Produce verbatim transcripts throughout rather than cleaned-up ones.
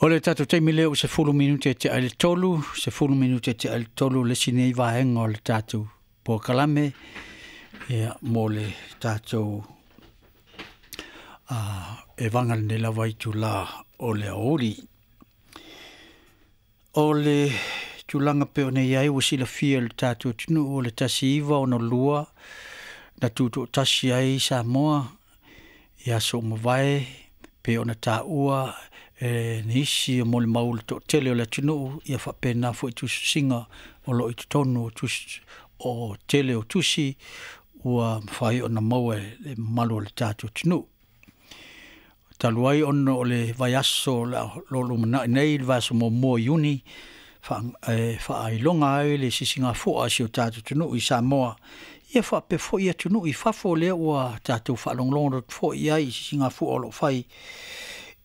O le tatou taimi lea ua sefulu minute e tea i le tolu, sefulu minute e tea i le tolu le isi nei vaega o le tatou polokalame ia mo le tatou uh, e vaga lenei lava itulā o le aoauli. O le tulaga pei ona i ai ua silafia e le tatou atunuu o le tasi iva ono lua na tutoatasi ai Samoa i aso ua mavae pei ona taua e nisi o molimau le toatele o le atunuu ia faapena foi tusitusiga o lo o i totonu o tusi o tele o tusi ua mafai ona maua e le mamalu o le tatou atunuu. Talu ai ona o le vaiaso o lo o lumanai nei, le vaiaso muamua o Iuni, e faailoga ai le sisigafua a si o tatou atunuu i Samoa, ia faapea foi atunuu i fafo lea ua tatou faalogologo atu foi i ai i sisigafua o lo o fai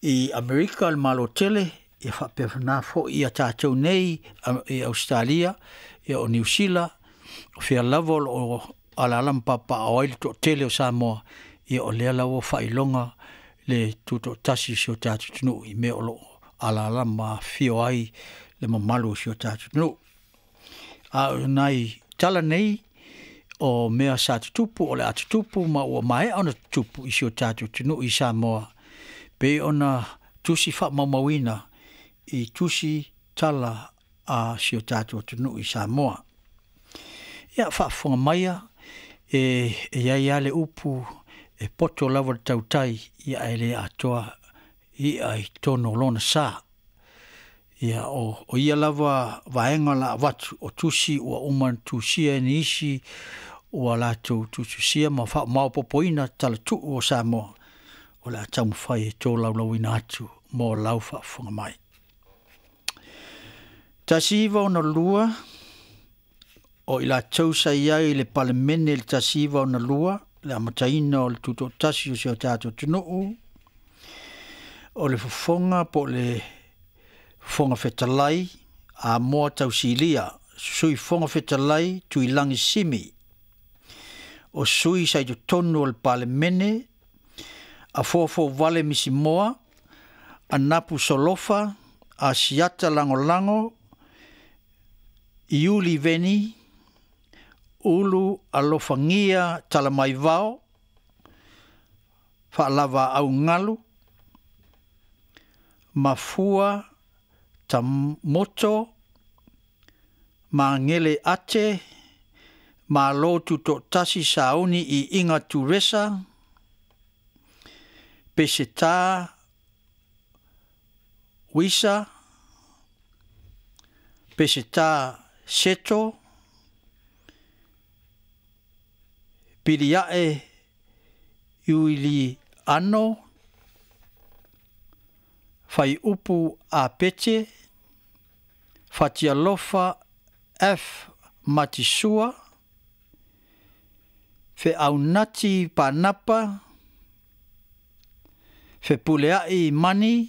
i Amerika, le Malo tele, ia faapena foi ia tatou nei i Ausetalia, ia o Niu Sila, o fea lava o lo o alaala ma papaaao ai le toatele o Samoa, ia o lea lava ua faailoga le tutoatasi o si o tatou atunuu i mea o lo o alaala ma afifio ai le mamalu o si o tatou atunuu. A o nai tala nei o mea sa tutupu, o le a tutupu ma ua maea ona tutupu i si o tatou atunuu i Samoa, pei ona tusi faamaumauina i tusi tala a si o tatou atunuu i Samoa. Ia faafofoga maia, e i ai lava le upu e poto lava le tautai, ia ae le atoa i'a i totonu o lona sa. Ia o, o ia lava vaega la avatu o tusi ua uma ona tusia e nisi ua latou tusitusia ma faamaopoopoina talatuu o Samoa, o le a taumafai e tolaulauina atu mo lau faafofoga mai. Tasi iva ono lua, o i latou sa i ai i le Palemene i le tasi iva ono lua, le amataina o le tutoatasi o si o tatou atunuu, o le fofoga po o le Fofoga Fetalai Amoa Tausilia, Sui Fofoga Fetalai Tuilagi Simi, o sui sa i totonu o le Palemene, Afoafoavale Misimoa, Anapu Solofa, Asiata Lagolago, Iuli Veni, Ulu Alofagia Talamaivao, Faalava Augalu, Mafua Tamoto, Magele Ate, Malo Tutoatasi Sauni i Iga Turesa, Peseta Wisa, Peseta Seto, Piliae Iuliano, Faiupu Apete, Fatialofa F. Matisua, Feaunati Panapa, Fepuleai Mani,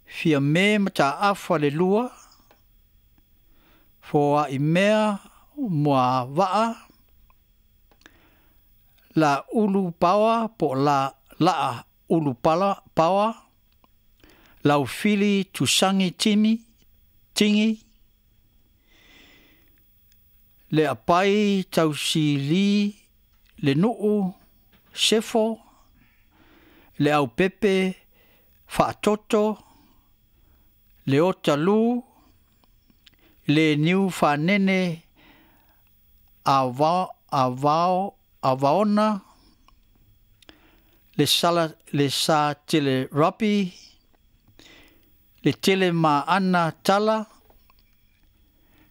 Fiame Mataafa le Lua, Foaimea Muavaa, La Ulu Paoa po la Laa Ulu Pala Paoa, Laufili Tusangi Timi Tingi, Le Apai Tausili Le Nuu Sefo, Le Aupepe Faatoto, Le Otalu, Le Niu Fanene Avao Avao Avaona, Le Sala Le Sa Tele Rapi, Le Tele Maana Tala,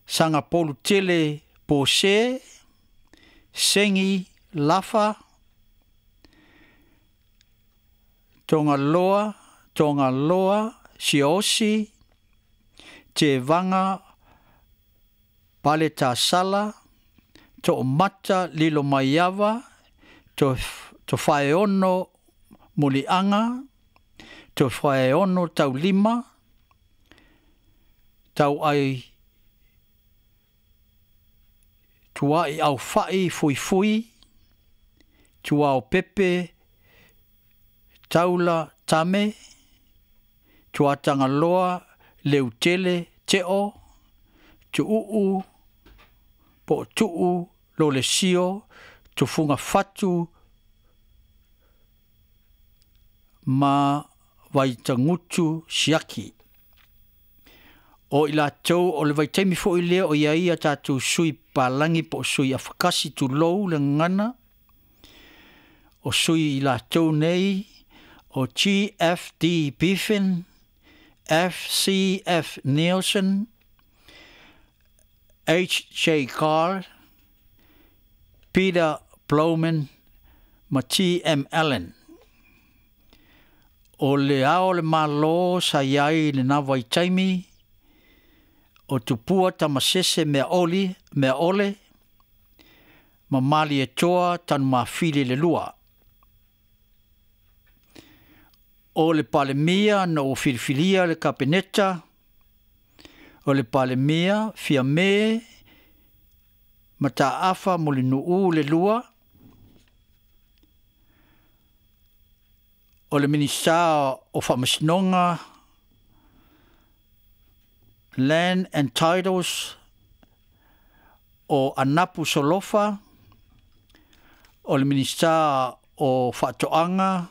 Sangapolu Tele Pose, Sengi Lafa, Tongaloa, Tongaloa, Siosi, Te Vanga, Paletasala, To'omata Lilo Maiava, To, Tofaeono Mulianga, Tofaeono Taulima, Tauai Tuai Aufai Fuifui, Tuao Pepe, Taula Tame, Tuatagaloa Leutele Te'o, Tu'u'u po Tu'u Lolesio, Tufugafatu ma Vaitagutu Siaki. O i latou o le vaitaimi fo'i lea o ia ia tatou sui palagi po o sui afakasi tulou le gagana, o sui i latou nei o G F D Biffin, F C F Nielsen, H J Carr, Peter Blowman ma T M Allen. O le ao le malo sa iai le na vaitaimi o Tupua Tamasese mea oli, mea ole, ma mali e toa tanu mafili le lua. O le palemia na o filifilia le kapeneta, o le palemia fia me mataafa Mulinuu le lua, o le minista o Faamasinoga, Land and Titles o Anapu Solofa, o le minista o Faatoaga,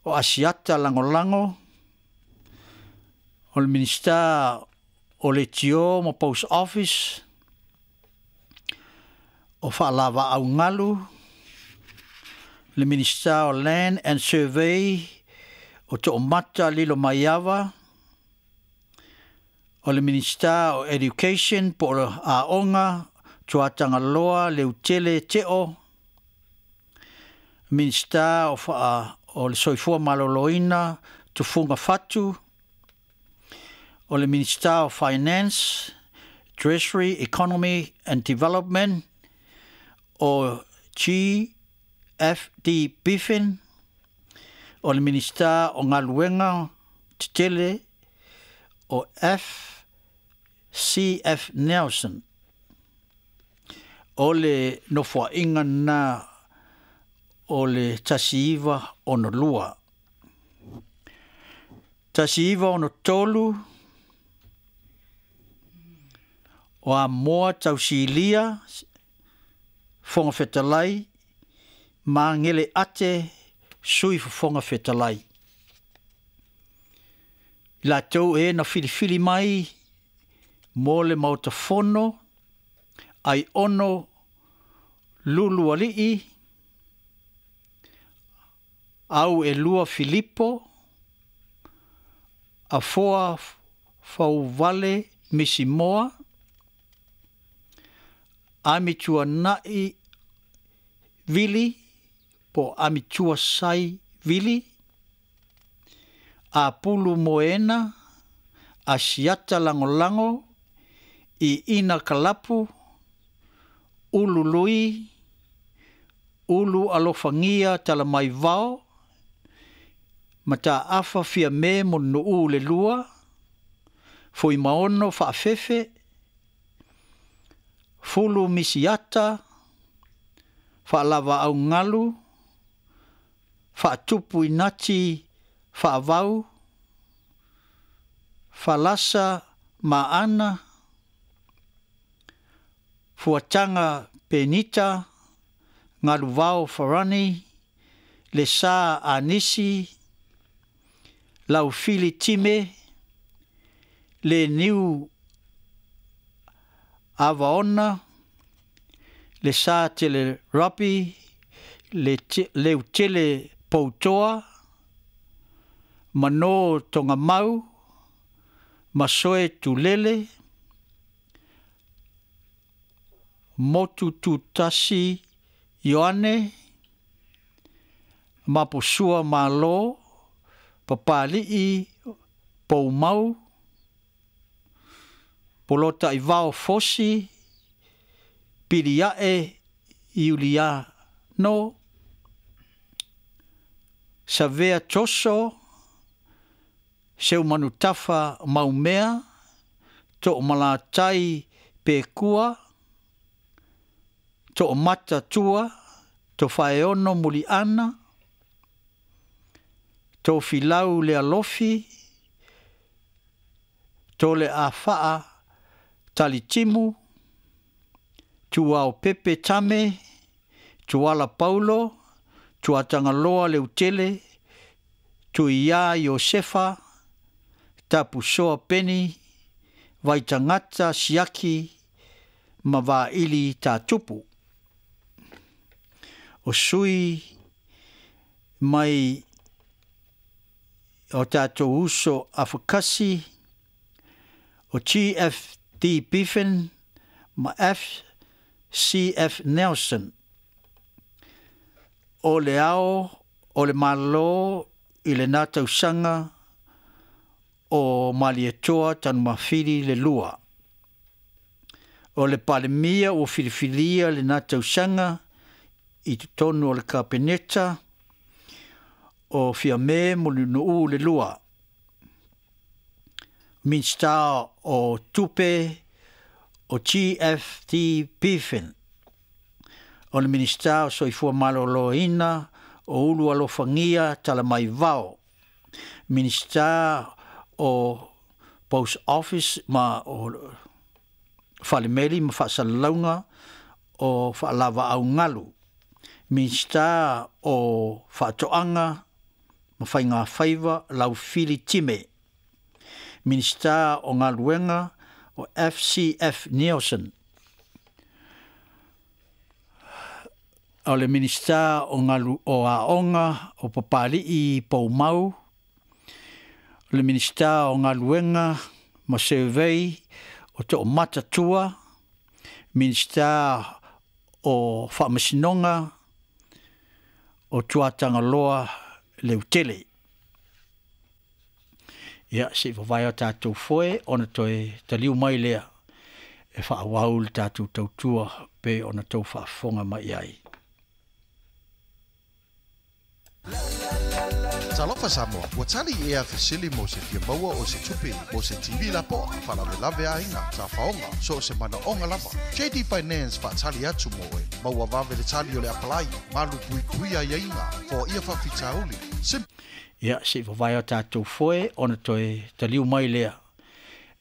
o Asiata Lagolago, o le minista o le Tio ma Post Office, o Faalava Augalu, le minista o Land and Survey o Toomata Lilo Maiava, o le minista o Education po o Aoga Tuatagaloa Leutele Te'o, minista o, fa, o le Soifua Maloloina Tufugafatu, o le minista o Finance, Treasury, Economy and Development o G F D Biffin, o le minista o Galuega Tetele o F C F Nelson. O le nofoa'iga na o le tasi iva ono lua. Tasi iva ono tolu o Amoa tausilia Fofoga Fetalai Magele ate sui Fofoga Fetalai. I latou e na filifili mai mo le maotafono ai ono lulu ali'i au e lua Filipo afoa fauvale Misimoa Amituana'i Vili po Amitua Sai Vili Apulu Moena Asiata Lagolago i Ina Kalapu Ulu Lui Ulu Alofagia Talamaivao Mataafa Fiame Monu'u le lua Fuimaono Faafefe Fulu Misiata Faalava'augalu Faatupu Inati Faavau Falasa Maana Fuataga Penita Galuvao Farani Lesa Anisi Laufili Time Le Niu Avaona Le Sa Tele Rapi Le Leutele Poutoa Mano Tongamau Masoe Tulele Motu Tutasi Ioane Maposua Malo Papali'i Poumau Polota Ivao Fosi Pilia'e Iuliano Savea Toso Seumanutafa Maumea To'omalatai Pekua To'omata Tua Tofaeono Muli'ana Tofilau Lealofi, Tole Afa'a Talitimu, Tuao Pepe Tame, Tuala Paulo, Tuatagaloa Leutele, Tuia Iosefa, Tapusoa Peni, Vaitagata Siaki, ma Vaili Tatupu. O sui mai o tātou uso afakasi, o G F D Biffen ma F C F Nelson. O le ao o le malo i le nā tausaga o Malietoa Tanumafili le lua. O le Palemia ua filifilia le nā tausaga i totonu o le Kapeneta o Fiame Mulinuu le lua. Minista o Tupe o G F D Biffen. O le Minista o Soifua Maloloina o Ulu Alofagia Talamaivao. Minista o Post Office ma o Falemeli ma Faasalalauga o Faalavaaugalu. Minista o Faatoaga ma Faiga Faiva Laufili Time. Minista o Galuega o F C F Nielsen. O le Minista o Galu o Aoga o Papali'i Poumau. O le Minista o Galuega ma Survey o To'omatatua. Minista o Faamasinoga o Tuatagaloa Leutele. Ia, se i vavae o tātou foe, ona toe taliu mai lea e whaawau le tātou tautua pe ona tau whaafonga mai ai. Talofa Samoa, ua tali ea fesili mo se fia maua o se tupe, mo se T V lapoa, faalavelave aiga, tafaoga, so o se manaoga lava. J D Finance faatali atu mo oe, maua vave le tali o le apalai, malu puipui aiaiga, foaia faafitauli. Sim- Ia, se i vavae o tātou foe, ona toe taliu mai lea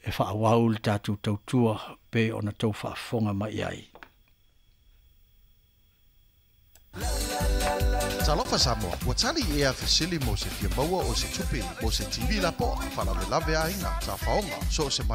e whaawau le tātou tautua pe ona tau whaafonga mai ai. Talofa Samoa, ua tali ea fesili mo se fia maua o se tupe, mo se T V lapoa, faalavelave aiga, tafaoga, so o se